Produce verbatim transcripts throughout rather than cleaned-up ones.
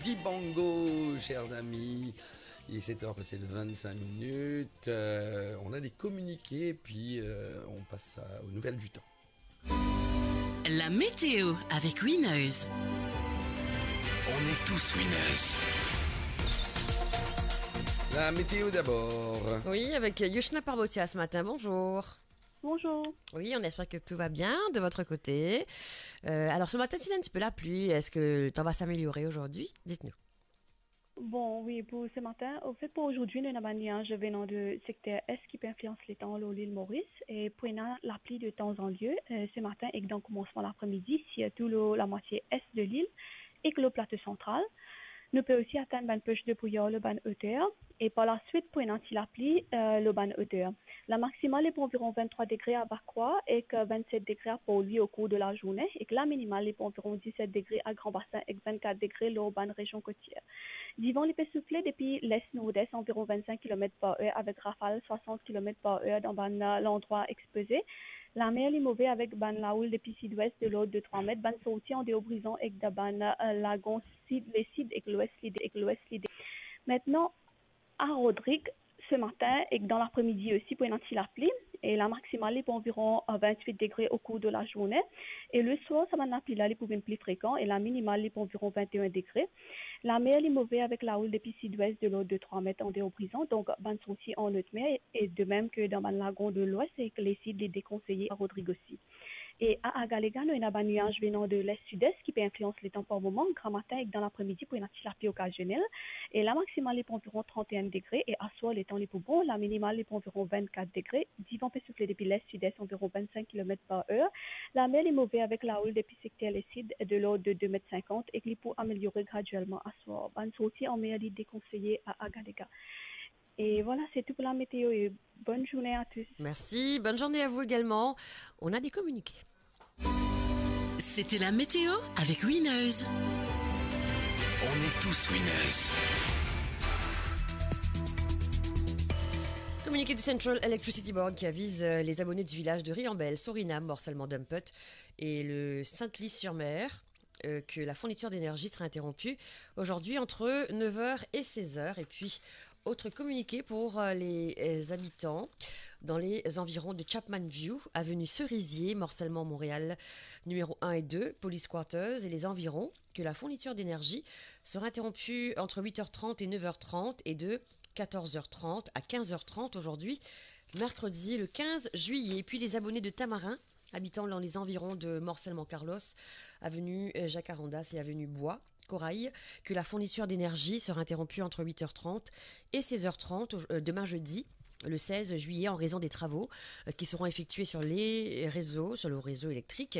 Dibango, chers amis. Il est sept heures passées de vingt-cinq minutes. Euh, on a des communiqués, puis, euh, on passe à- aux nouvelles du temps. La météo avec Winners. On est tous winners. La météo d'abord. Oui, avec Yoshna Parbotia ce matin. Bonjour. Bonjour. Oui, on espère que tout va bien de votre côté. Euh, alors ce matin, s'il y a un petit peu la pluie, est-ce que le temps va s'améliorer aujourd'hui ? Dites-nous. Bon, oui, pour ce matin, au fait, pour aujourd'hui, nou ena bann niaz venan de sekter est ki pe inflians letan lor lil Moris, e pou ena lapli de tan an lie, euh, ce matin ek dan koumansman lapremidi, sirtou lor lamwatie est de lil ek lor plato santral. Nou pe osi atann bann posh de brouyar lor bann oter, e par laswit pou ena ti lapli, euh, lor bann oter. La maximale li pou anviron vinn-trwa degre a Bakoua ek, euh, vinn-set degre a Port-Louis au cours de la journée, ek la minimale li pou anviron diset degre a Grand Bassin ek vinn-kat degre lor bann rezion kotier. Divan li pe soufle depi les-nordes anviron vinn-sink kilomet par er avek rafal swasant kilomet par er dan bann, euh, landrwa expoze. Lamer li move avek bann laoul depi sidwes de lord de trwa met, bann sorti andeor Brizon ek dan bann, euh, lagon sid, lesid ek lwes li de, ek lwes li de. Aster, a Rodrig, ce matin ek dan lapremidi osi pou ena ti lapli, e la maximale li pou anviron, euh, vinn-wit degre au cours de la journée, e le swar sa bann lapli la li pou vinn pli frekan, e la minimale li pou anviron vinn-e-enn degre. Lamer li move avek laoul depi sidwes de lord de trwa met andeor Brizon, donk bann sorti an lot mer, e de mem ke dan bann lagon de lwes ek lesid li dekonseye a Rodrig osi. E a Agalega, nou ena bann niaz venan de les-sides ki pe inflians letan par moman. Gramatin ek dan lapremidi pou ena ti lapli okazionel. E la maximale li pou anviron trant-e-enn degre e aswar letan li pou bon. La minimale li pou anviron vinn-kat degre. Divan pe soufle depi les-sides anviron vinn-sink kilomet par er. Lamer li move avek laoul depi sekter lesid de lord de de met sinkant ek li pou ameliore graduelman aswar. Bann sorti an mer li dekonseye a Agalega. Et voilà, c'est tout pour la météo et bonne journée à tous. Merci, bonne journée à vous également. On a des communiqués. C'était la météo avec Winners. On est tous winners. Communiqué du Central Electricity Board qui avise, euh, les abonnés du village de Riambel, Sorinam, morcellement Dumpet, et le Sainte-Lise-sur-Mer, euh, que la fourniture d'énergie sera interrompue aujourd'hui entre neuf heures et seize heures. Et puis, autre communiqué pour, euh, les, euh, habitants dans les environs de Chapman View, avenue Cerisier, morcellement Montréal, numéro un et deux, Police Quarters et les environs, que la fourniture d'énergie sera interrompue entre huit heures trente et neuf heures trente et de quatorze heures trente à quinze heures trente aujourd'hui, mercredi le quinze juillet. Et puis les abonnés de Tamarin, habitant dans les environs de Morcellement Carlos, avenue, euh, Jacarandas et avenue Bois, Corail, que la fourniture d'énergie sera interrompue entre huit heures trente et seize heures trente au-, euh, demain jeudi, le seize juillet, en raison des travaux, euh, qui seront effectués sur les réseaux, sur le réseau électrique.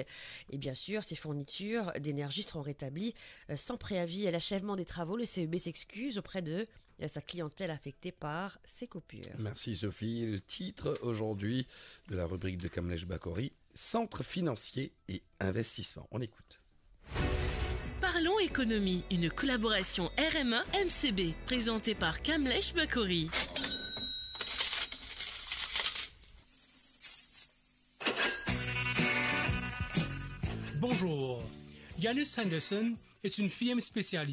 Et bien sûr, ces fournitures d'énergie seront rétablies, euh, sans préavis à l'achèvement des travaux. Le C E B s'excuse auprès de, euh, sa clientèle affectée par ces coupures. Merci Sophie. Le titre aujourd'hui de la rubrique de Kamlesh Bakori, Centre financier et investissement. On écoute. Parlons économie, une collaboration R M A M C B, présentée par Kamlesh Bakori. Bonjour. Janus Henderson est une firme spécialisée